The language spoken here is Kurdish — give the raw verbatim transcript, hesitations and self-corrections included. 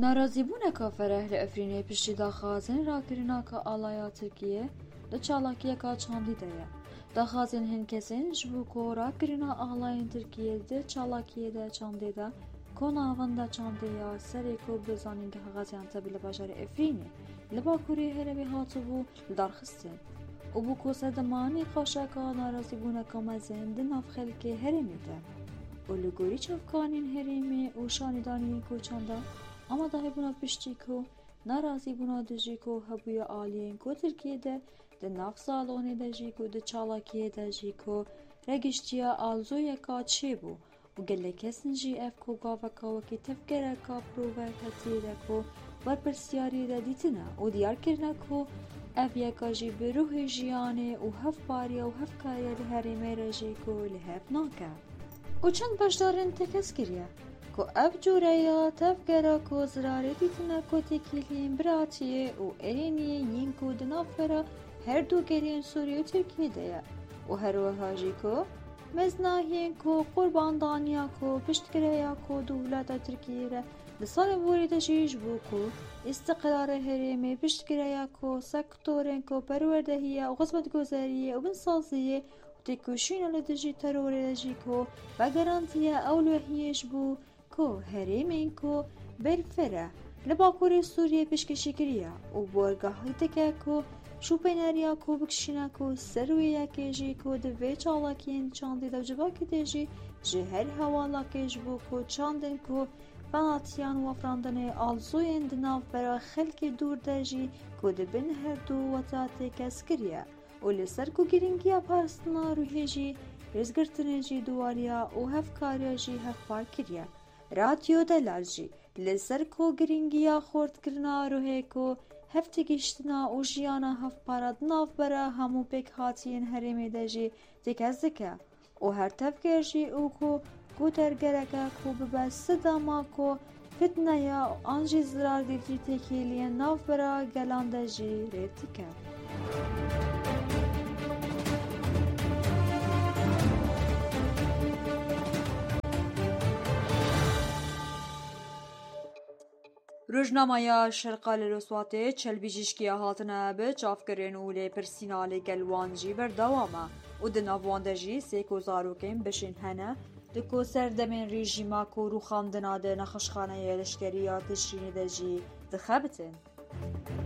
Narazîbûneka fereh li Efrînê piştî daxwazên rakirina ka alaya Tirkiyê di çalakiyeka çandî de ye. Daxwazên hin kesên ji bo ku rakirina alayên Tirkiyê di çalakiyê de çandê de ku navenda çandê ya serê ku bi Zanîngeha Gaziantepê li bajarê Efrînê li bakurê herêmê hatibû li dar xistin û bû ku sedema nîqaşeka narazîbûneka mezin di nav xelkê herêmê de û li gorî çavkanên herêmê û şanîdaniyên ku çanda amadahîbûna piştî ku narazîbûna dijî ku hebûye aliyên ku Tirkiyê de di nav salonê de jî ku di çalakiyê de jî ku regiştiye aloziyeka çêbû û gelek kesin jî ev ku gaveka wekî tevgereka provokatî de ku berpirsyarî de dîtine û diyar kirine ku ev yeka jî bi ruhê jiyanê û hevpariya û hevkariya li herêmê re jî ku li hev nake. Û çend beşdarên tekez kiriye ku ev cûreya tevgera ku zirarê dîtine ku têkiliyên biratiyê û erêniyê yên ku di navbera her du gelên Sûriyê û Tirkiyê de ye û her wiha jî ku meznahiyên ku qurbandaniya ku piştgire ya ku dewleta Tirkiyê re di salên borî de jî ji bo ku îstiqrarê herêmê piştgire ya ku sektorên ku perwerdehiye û xizmetguzariyê û binsaziyê û têkoşîna li dijî terorê de jî ku vegerandiye ewlehiyê ji bo ku herêmên ku berfireh li Bakurê Sûriyê pêşkêşî kiriye û borgehî dike ku şûpêneriya ku bikişîne ku ser wê yekê jî ku di vê çalakiyên çandî de civakî de jî ji her hewalakê ji bo ku çandên ku penatiyan û afirandinê aloziyên di navbera xelkê dûr de jî ku di bin her du weta têkez kiriye û li ser ku girîngiya parastina ruhê jî, rêzgirtinê jî duwariya û hevkariya jî hevpar kiriye. Radyo Delal jî li ser ku girîngiya xurtkirina ruhê ku hevtêgihiştina û jiyana hevpara di navbera hemû pêkhatiyên herêmê de jî têkez dike û her tevger jî û ku guhdargereke ku bibe sidema ku fitneya an jî zirardîtî têkiliyên navbera gelan de jî rê dike. Rojnameya Şerqa li Roswatê çelbîjîşkiya hatine bi çavkirin û lêpirsîna li gel wan jî berdewam e û di nav wan de jî sê ku zarokên bişên hene, di ku serdemên rejîma ku rûxandina di nexweşxaneya leşkerî ya Tişrînê de jî dixebitin.